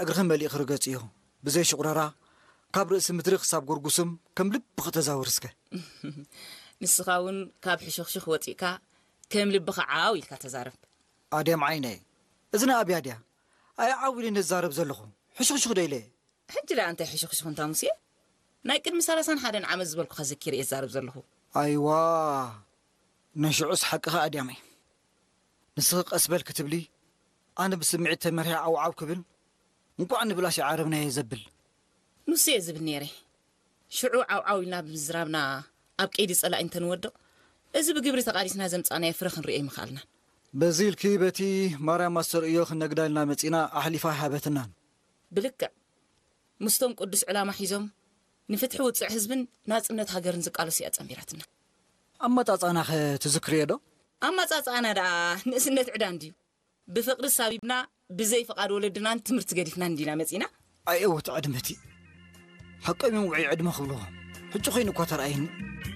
እግርኺ መሊእኺ ርገጽዮ። ብዘይ ሽቑረራ፣ ካብ ርእሲ ምድሪ ክሳብ ጎርጉስም ከም ልብኺ ተዛወሪ እስከ። ንስኻ እውን ካብ ሕሹኽሹኽ ወጺእካ ከም ልብኻ ዓው ኢልካ ተዛረብ። ኣድያም ዓይነይ፣ እዚ ንኣብያ ድያ? ኣይ ዓው ኢለ ነዛረብ ዘለኹ። ሕሹኽሹኽ ዶ ኢለ? ሕጂ ደኣ እንታይ ሕሹኽሹኽ እንታ ሙሴ? ናይ ቅድሚ ሰላሳን ሓደን ዓመት ዝበልኩኻ ዘኪረ እየ ዝዛረብ ዘለኹ። ኣይዋ፣ ንሽዑስ ሓቅኻ ኣድያመይ። ንስኺ ቀስ በል ክትብሊ፣ ኣነ ብስምዒት ተመሪሐ ዓው ዓው ክብል፣ እንቋዕ ንብላሽ ዓረብናዮ ዘብል። ንሱ እየ ዝብል ነይረ። ሽዑ ዓው ዓው ኢልና ብምዝራብና ኣብ ቀይዲ ጸላኢ እንተንወድቕ፣ እዚ ብግብሪ ተቓሊስና ዘምጻእናዮ ፍረ ክንርእዮ ኣይምኽኣልናን። በዚ ኢልኪ በቲ ማርያም ኣስተርእዮ ክነግዳ ኢልና መጺና ኣሕሊፋ ኣይሃበትናን። ብልክዕ ምስቶም ቅዱስ ዕላማ ሒዞም ንፍትሒ ውጽዕ ህዝብን ናጽነት ሃገርን ዝቃለሱ እያ ጸንቢራትና። ኣመጻጽኣናኸ ትዝክርዮ ዶ? ኣመጻጽኣና ደኣ ንእስነት ዕዳ እንድዩ። ብፍቕሪ ሳቢብና ብዘይ ፍቓድ ወለድናን ትምህርቲ ገዲፍና እንዲና መጺና። ኣየወት ዕድመቲ። ሓቆም እዮም ውዑይ ዕድመ ክብልዎ። ሕጂ ኮይኑ እኳ ተረኣየኒ።